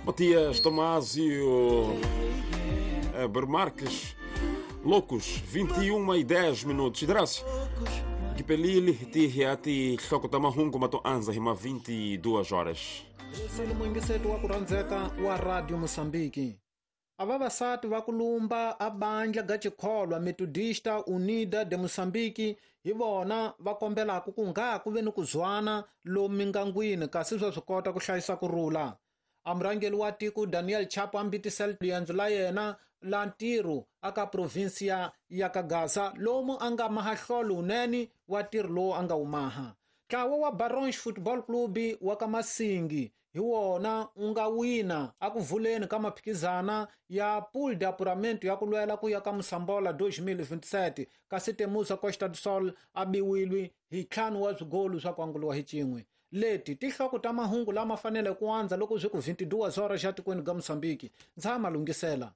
Matias Tomásio Bermarques Loucos, 21 e 10 minutos. Graças. Kipelili ti hloko ta mahungu ma to anza hi ma 22 horas. Sele muyingiseti wa ku rhandzeka wa Radio Mosambiki. A vavasati va ku lumba a bandla ga chikholwa Metodista Unida de Mosambiki hi vona va kombelaka ku nga ku ve ni ku zwana lomu mingangwini, kasi swa swi kota ku hlayisa ku rhula. A murhangeri wa tiko Daniel Chapo a mbitisela riendzo la yena la ntirho aka provinsia ya Kagaza, lomu a nga maha hlolo wunene wa ntirho lowu a nga wu maha. Ntlawa wa Barons Football Club wa ka Masingi hi wona wu nga wina aku vuleni ka maphikizana ya Pool de Apuramento ya ku lwela ku ya ka Mosambola 2027, kasi Temusa Costa do Sol a biwile hi 5 wa swigolu swa ku anguliwa hi cin'we. Leti tihloko ta mahungu lama fanele ku andza loko swi ku 22 horas xa tikweni ga Mosambiki. Ndza ha malunghisela.